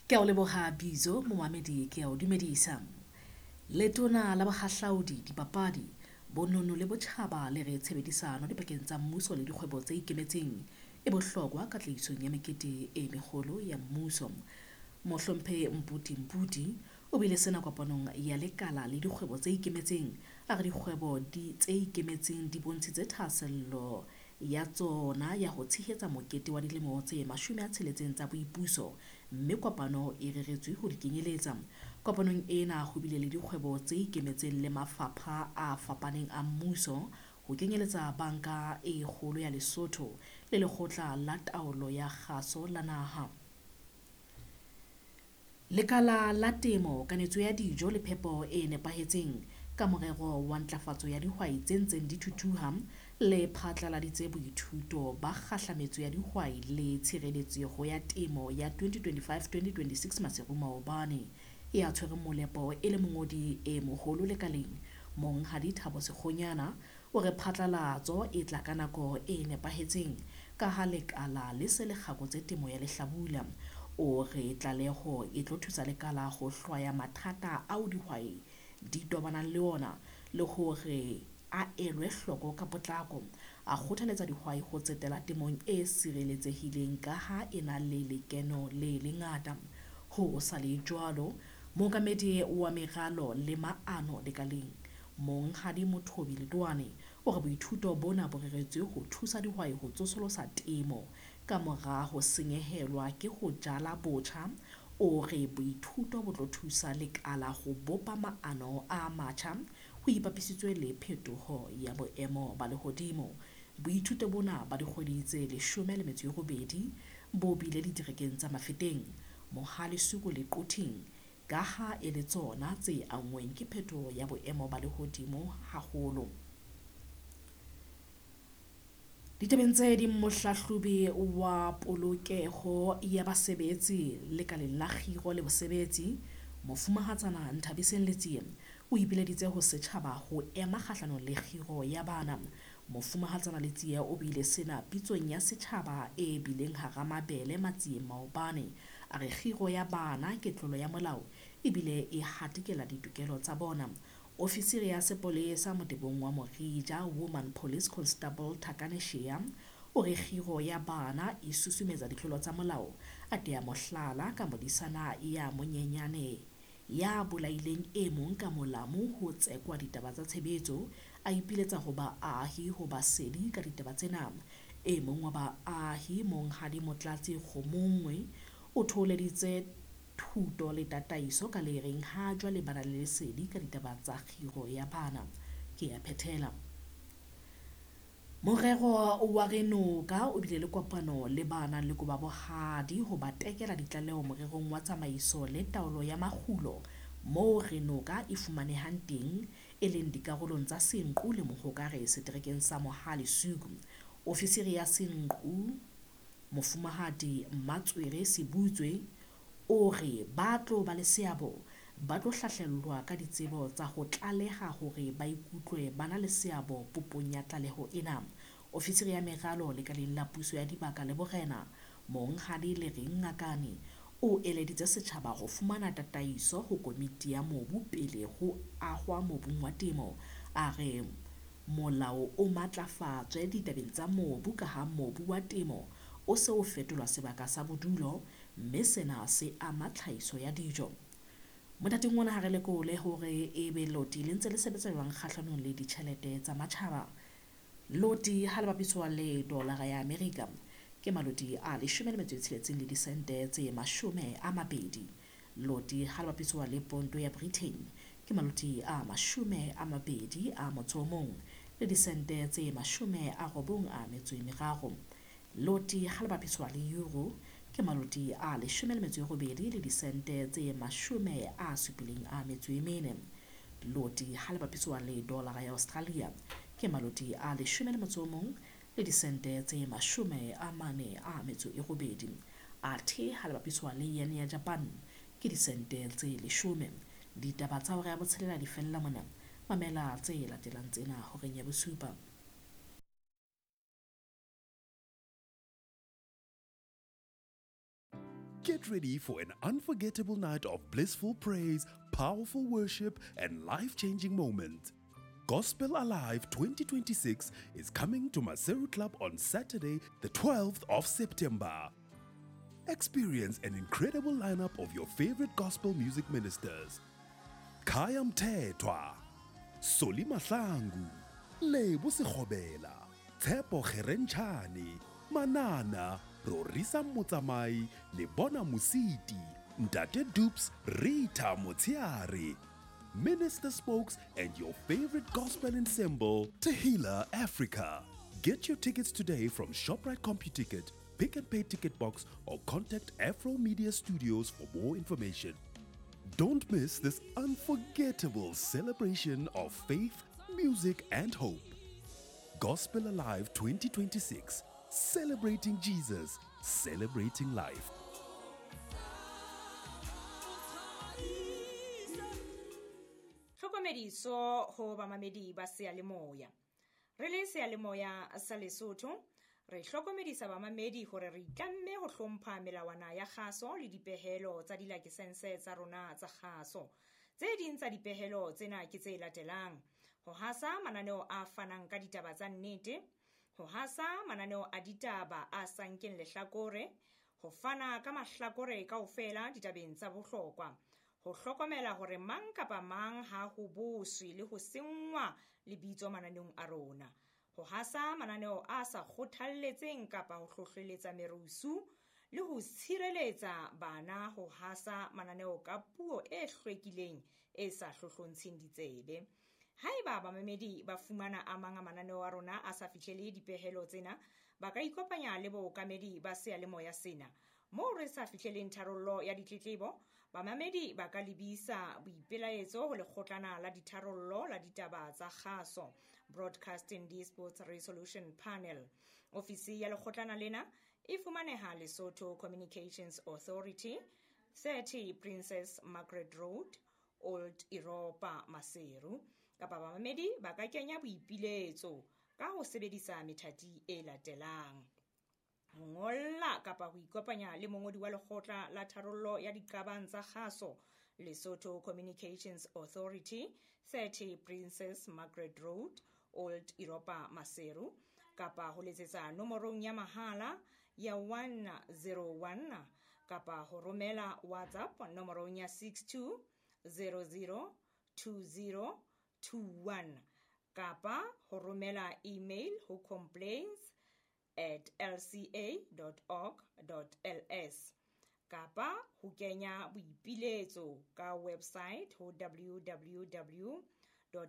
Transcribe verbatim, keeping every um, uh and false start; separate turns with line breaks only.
Ke a o leboha Bizo momamedi ke a o dumedisa. Letona la Bohahlaudi, Dipapadi, Bonono le Botjhaba le re tshebedisano dipakeng tsa mmuso le dikgwebo tse ikemetseng e bohlokwa katlehisong ya mekete e meholo ya mmuso. Mohlomphehi Mputi Mputi o buile sena kopanong ya lekala le dikgwebo tse ikemetseng. A re dikgwebo di tse ikemetseng di bontshitse thahasello ya tsona ya ho tshehetsa mokete wa dilemo tse mashome a tsheletseng tsa boipuso, mme kopano e reretswe ho di kenyeletsa. Kopanong ena ho bile le dikgwebo tse ikemetseng le mafapha a fapaneng a mmuso, ho kenyeletsa Banka e Kgolo ya Lesotho le Lekgotla la Taolo ya Kgaso la Naha. Lekala la Temo, Kanetso ya Dijo le Phepo e Nepahetseng ka morero wa ntlafatso ya dihwai tse ntseng di thuthuha le phatlaladitse boithuto ba kgahlametso ya dihwai le tshireletseho ya temo ya twenty twenty-five twenty twenty-six Maseru maobane. Ya tshwereng molepo e le mongodi e moholo lekaleng, Monghadi Thabo Sekgonyana, o re phatlalatso e tla ka nako e nepahetseng ka ha lekala le se le kgakotse temo ya lehlabula. O re tlaleho e tlo thusa lekala ho hlwaya mathata ao dihwai di tobanang le ona le hore a elwe hloko ka potlako. A kgothaletsa dihwai ho tsetela temong e sireletsehileng ka ha e na le lekeno le lengata. Ho sa le jwalo, mookamedi wa meralo le maano lekaleng, Monghadi Mothobi Letoane, o re boithuto bona bo reretswe ho thusa dihwai ho tsosolosa temo ka mora ho senyehelwa ke ho jala botjha. O re boithuto bo tlo thusa lekala ho bopa maano a matjha ho ipapisitswe le phetoho ya boemo ba lehodimo. Boithuto bona ba dikgwedi tse leshome le metso e robedi bo bile diterekeng tsa Mafeteng, Mohale'Soku le Quthing, ka ha e le tsona tse anngweng ke phetoho ya boemo ba lehodimo haholo. Ditabeng tse ding, mohlahlobi wa polokeho ya basebetsi lekaleng la kgiro le bosebetsi, Mofumahatsana Nthabiseng Letsie, o ipileditse ho setjhaba ho ema kgahlanong le kgiro ya bana. Mofumahatsana Letsie o buile sena pitsong ya setjhaba e bileng hara mabele Matsieng maobane. A re kgiro ya bana ke tlolo ya molao ebile e hatikela ditokelo tsa bona. Ofisiri ya sepolesa motebong wa Morija, Woman Police Constable Thakane Shea, o re kgiro ya bana e susumetsa ditlolo tsa molao. A tea mohlala ka modisana ya monyenyane ya bolaileng e mong ka molamu ho tsekwa ditaba tsa tshebetso. A ipiletsa ho baahi ho ba sedi ka ditaba tsena. E mong wa baahi, Monghadi Motlatsi Kgomongwe, o thoholeditse thuto le tataiso ka le reng ha jwale ba na le lesedi ka ditaba tsa kgiro ya bana. Ke a phethela. Morero wa Renoka o bile le kopano le ba nang le koba bohadi ho ba tekela ditlaleho morerong wa tsamaiso le taolo ya makgulo moo Renoka e fumanehang teng, e leng dikarolong tsa Senqu le Mohokare seterekeng sa Mohale'Soku. Ofisiri ya Senqu, Mofumahadi Mmatswere Sebutswe, o re ba tlo ba le seabo ba tlo hlahlellwa ka ditsebo tsa ho tlaleha hore ba ikutlwe ba na le seabo popong ya tlaleho ena. Ofisiri ya meralo lekaleng la puso ya dibaka le borena, Monghadi Lereng Ngakane, o eleditse setjhaba ho fumana tataiso ho komiti ya mobu pele ho ahwa mobung wa temo. A re molao o matlafatswe ditabeng tsa mobu ka ha mobu wa temo o se o fetolwa sebaka sa bodulo, mme sena se ama tlhahiso ya dijo. Mothating ona ha re lekole hore ebe loti le ntse le sebetsa jwang kgahlanong le ditjhelete tsa matjhaba. Loti ha le bapiswa le dolara ya Amerika ke maloti a leshome le metso e tsheletseng le disente tse mashome a mabedi. Loti ha le bapiswa le ponto ya Britain ke maloti a mashome a mabedi a motso o mong le disente tse mashome a robong a metso e meraro. Loti ha le bapiswa le euro ke maloti a leshome le metso e robedi le disente tse mashome a supileng a metso e mene. Loti ha le bapiswa le dollara ya Australia ke maloti a leshome le motso o mong le disente tse mashome a mane a metso e robedi. Athe ha le bapiswa le yen ya Japan ke disente tse leshome. Ditaba tsa hora ya botshelela di fella mona. Mamela tse latelang tsena horeng ya bosupa.
Get ready for an unforgettable night of blissful praise, powerful worship, and life-changing moments. Gospel Alive twenty twenty-six is coming to Maseru Club on Saturday, the twelfth of September. Experience an incredible lineup of your favorite gospel music ministers. Khaya Mthethwa, Solly Mahlangu, Lebo Sekgobela, Tshepo Kgerentshane, Manana, Rorisang Motsamai, Lebona Mositi, Ntate Dupes, Rita Motsiare, Minister Spokes, and your favorite gospel ensemble, Tehila Africa. Get your tickets today from ShopRite CompuTicket, Pick n Pay Ticket Box, or contact Afro Media Studios for more information. Don't miss this unforgettable celebration of faith, music, and hope. Gospel Alive twenty twenty-six, celebrating Jesus, celebrating life.
Tlhokomediso ho bamamedi ba seyalemoya. Re le seyalemoya sa Lesotho, re hlokomedisa bamamedi hore re itlamme ho hlompha melawana ya kgaso le dipehelo tsa dilakesense tsa rona tsa kgaso. Tse ding tsa dipehelo tsena ke tse latelang: ho hasa mananeo a fanang ka ditaba tsa nnete, ho hasa mananeo a ditaba a sa nkeng lehlakore, ho fana ka mahlakore kaofela ditabeng tsa bohlokwa, ho hlokomela hore mang kapa mang ha ho boswe le ho senngwa lebitso mananeong a rona, ho hasa mananeo a sa kgothalletseng kapa ho hlohleletsa merusu, le ho tshireletsa bana ho hasa mananeo ka puo e hlwekileng e sa hlohlontsheng ditsebe. Haeba bamamedi ba fumana a mang a mananeo a rona a sa fihlele dipehelo tsena, ba ka ikopanya le bookamedi ba seyalemoya sena. Moo re sa fihleleng tharollo ya ditletlebo, bamamedi ba ka lebisa boipelaetso ho lekgotlana la ditharollo la ditaba tsa kgaso, Broadcasting Disputes Resolution Panel. Ofisi ya lekgotlana lena e fumaneha Lesotho Communications Authority, thirty Princess Margaret Road, Old Europa, Maseru. Kapa bamamedi ba ka kenya boipiletso ka ho sebedisa methati e latelang: ho ngolla kapa ho ikopanya le mongodi wa lekgotla la tharollo ya diqabang tsa kgaso, Lesotho Communications Authority, thirty Princess Margaret Road, Old Europa, Maseru, kapa ho letsetsa nomorong ya mahala ya one zero one, kapa ho romela WhatsApp nomorong ya six two zero zero two zero two one, kapa ho romela email ho complaints at l c a dot org dot l s, kapa ho kenya boipiletso ka website ho w w w